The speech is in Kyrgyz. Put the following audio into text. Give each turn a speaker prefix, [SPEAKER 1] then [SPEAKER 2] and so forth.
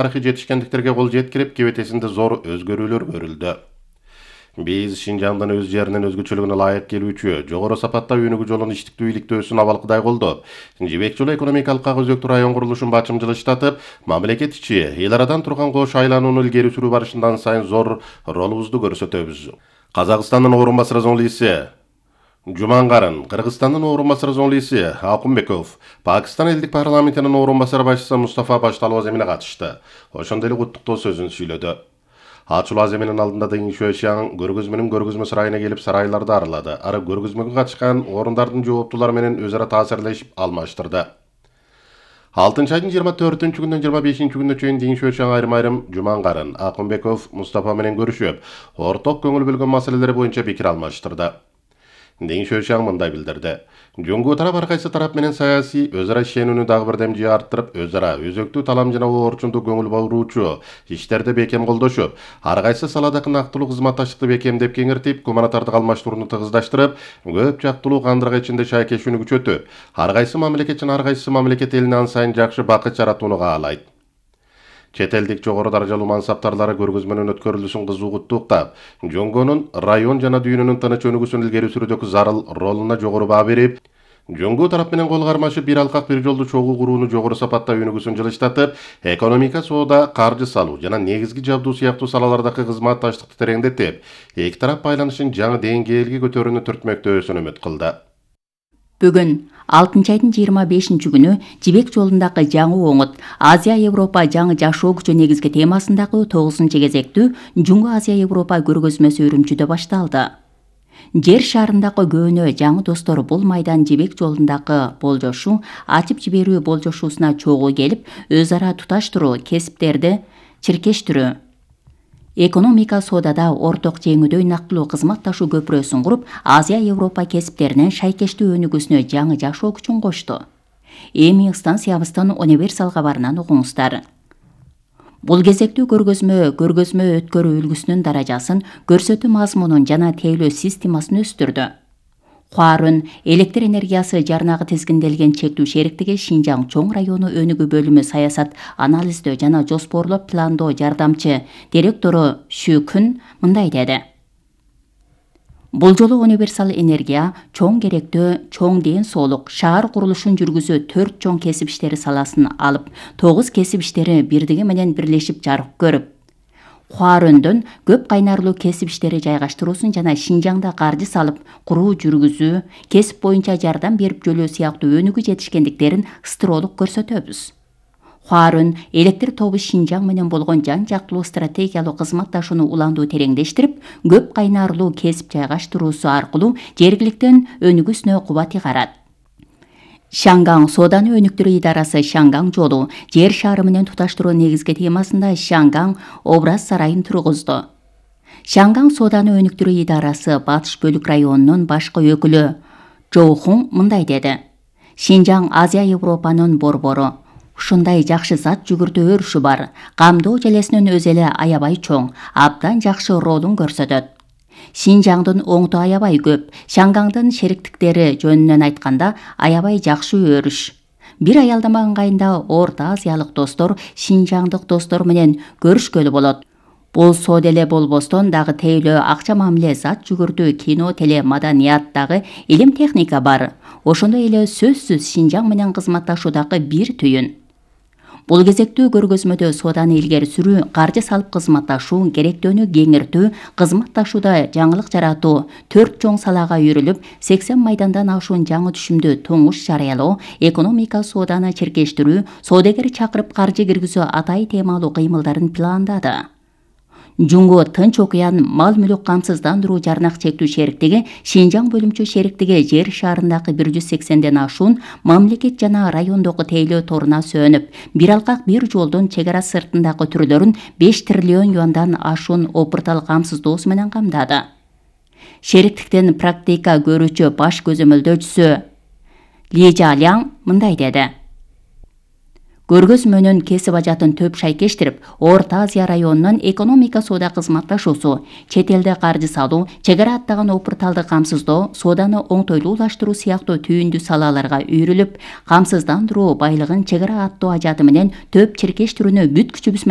[SPEAKER 1] тарыхый жетишкендиктерге кол жеткирип, кебетесинде зор өзгөрүүлөр көрүлдү. Биз Шинжаңдын өз жеринин өзгөчөлүгүнө ылайык келүүчү, жогору сапатта өнүгүү жолун иштиктүү иликтөөсүн абалкыдай колдоп, Жибек жолу экономикалык өзөктүү район курулушун бачымчылыштатып, мамлекет ичи эл арадан турган кош айланууну илгери сүрүү барышынан сайын зор ролубузду көрсөтөбүз. Казакстандын орун басары зоңлиси Жумангарын, Кыргызстандын орун басары зоңлиси Акунбеков, Пакистан элдик парламентинин орун басары башчысы Мустафа Башталов Аземине катышты. Ошондой эле куттуктоо сөзүн сүйлөдү. Ачуу Аземинин алдында Дың Шуэшян көргөзмө сарайына келип сарайларды аралады. Ары көргөзмөгө катышкан орундардын жооптуулары менен өз ара таасирлешип алмаштырды. 6 айдын 24-күнүнөн 25-күнүнө чейин Дың Шуэшян айрым Жумангарын, Акунбеков, Мустафа менен көрүшүп, орток көңүл бөлгөн маселелер боюнча пикир алмаштырды. Дың Шуэшян мындай билдирди. Жөнгө тарап ар кайсы тарап менен саясий өз ара ишенүүнү дагы бир демжи арттырып, өз ара өзөктүү талам жана орчундуу көңүл буруучу иштерди бекем колдошуп, ар кайсы саладагы нактылуу кызматташтыкты бекемдеп кеңиртип, гуманитардык алмаштырууну тыгыздаштырып, көп жактылуу кандыргы ичинде шайкешүүнү күчөтүп, ар кайсы мамлекет жана ар кайсы мамлекет элине ан сайын жакшы бакыт жаратууну каалайт. Чет элдик жогору даражалуу мансаптарлары көргөзмөнүн өткөрүлүшүн кызуу куттуктап, Жөнгөнүн район жана дүйнөнүн тыныч өнүгүүсүн илгери сүрүүдөгү зарыл ролуна жогору баа берип, Жөнгө тарап менен кол кармашып бир алкак бир жолду чогуу курууну жогору сапатта өнүгүүсүн жылыштатып, экономика, соода, каржы салуу жана негизги жабдуу сыяктуу салалардагы кызматташтыкты тереңдетип, эки тарап байланышын жаңы деңгээлге көтөрүүнү түртмөктөөсүн үмүт кылды.
[SPEAKER 2] Бүгүн 6 айдын 25-күнү Жибек жолундагы жаңы оңут Азия-Европа жаңы жашоо күчү негизги темасындагы 9-кезектүү Жуңгу Азия-Европа көргөзмөсү Үрүмчүдө башталды. Жер шарындагы көөнө жаңы достор бул майдан Жибек жолундагы болжошу ачып жиберүү болжошусуна чогуу келип, өз ара туташтыруу, кесиптерди чиркештирүү, экономика соодада орток жеңүүдөй нактылуу кызматташуу көпүрөсүн куруп, Азия-Европа кесиптеринин шайкештүү өнүгүүсүнө жаңы жашоо күчүн кошту. Эми станциябыздын универсал кабарынан угуңуздар. Бул кезектүү көргөзмө өткөрүү үлгүсүнүн даражасын, көрсөтүү мазмунун жана тейлөө системасын өстүрдү. Хуарун электр энергиясы жарнагы тизгинделген чектүү шериктиги Шинжаң чоң району өнүгүү бөлүмү саясат анализдөө жана жоспорлоо пландоо жардамчы директору Шү Күн мындай деди. Бул жолу универсал энергия чоң керектөө, чоң ден соолук, шаар курулушун жүргүзүү 4 чоң кесип иштери саласын алып, 9 кесип иштери бирдиги менен бирлешип жарык көрүп, Хуарөндөн көп кайнарлуу кесип иштери жайгаштыруусун жана Шинжаңда каржы салып, куруу жүргүзүү, кесип боюнча жардам берип жөлөө сыяктуу өнүгүү жетишкендиктерин ыстыроолук көрсөтөбүз. Хуарун электр тобу Шинжаң менен болгон жан жактылуу стратегиялуу кызматташууну уландуу тереңдештирип, көп кайнарлуу кесип жайгаштыруусу аркылуу жергиликтен өнүгүүсүнө кубат ыгарат. Шаңгаң сооданы өнүктүрүү идарасы Шаңгаң жолу жер шаары менен туташтыруу негизги темасында Шаңгаң образ сарайын тургузду. Шаңгаң сооданы өнүктүрүү идарасы Батыш бөлүк районунун башкы өкүлү Жоухун мындай деди. Шинжаң Азия-Европанын борбору. Ушундай жакшы зат жүгүртүү өрүшү бар. Камдоо желесинин өзү эле аябай чоң, абдан жакшы ролун көрсөтөт. Шинжаңдын оңту аябай көп. Шаңгаңдын шериктиктери жөнүнөн айтканда аябай жакшы өрүш. Бир аялдама ыңгайында Орто Азиялык достор Шинжаңдык достор менен көрүшкөлү болот. Бул соода эле болбостон дагы тейлөө акча мамиле, зат жүгүртүү, кино, теле, маданият дагы илим техника бар. Ошондой эле сөзсүз Шинжаң менен кызматташуудагы бир түйүн. Бул кезектүү көргөзмөдө сооданы илгери сүрүү, каржы салып кызматташуу, керектөөнү кеңиртүү, кызматташууда жаңылык жаратуу 4 чоң салага үйрүлүп, 80 майдандан ашуун жаңы түшүмдү туңуш жарыялоо, экономика сооданы чиркештирүү, соодагер чакырып каржы киргизүү атай темалуу кыймылдарын пландады. Жуңгу Тынч окуян мал мүлүк камсыздандыруу жарнак чектүү шериктиги Шинжаң бөлүмчө шериктиги жер шаарындагы 180ден ашуун мамлекет жана райондогу тейлөө торуна сөнүп, бир алкак бир жолдун чек ара сыртындагы түрлөрүн 5 триллион юандан ашуун опуртал камсыздоосу менен камдады. Шериктиктен практика көрүүчү баш көзөмөлдөөчүсү Ли Жаляң мындай деди. Көргөзмө менен кесип ажатын төп шайкештирип, Орто Азия районунун экономика соода кызматташуусу, чет элде каржы салуу, чек ара аттаган опурталды камсыздоо, сооданы оңтойлуулаштыруу сыяктуу түйүндүү салаларга үйрүлүп, камсыздандыруу, байлыгын чек ара аттоо ажаты менен төп чиркештирүүнү бүт күчүбүз менен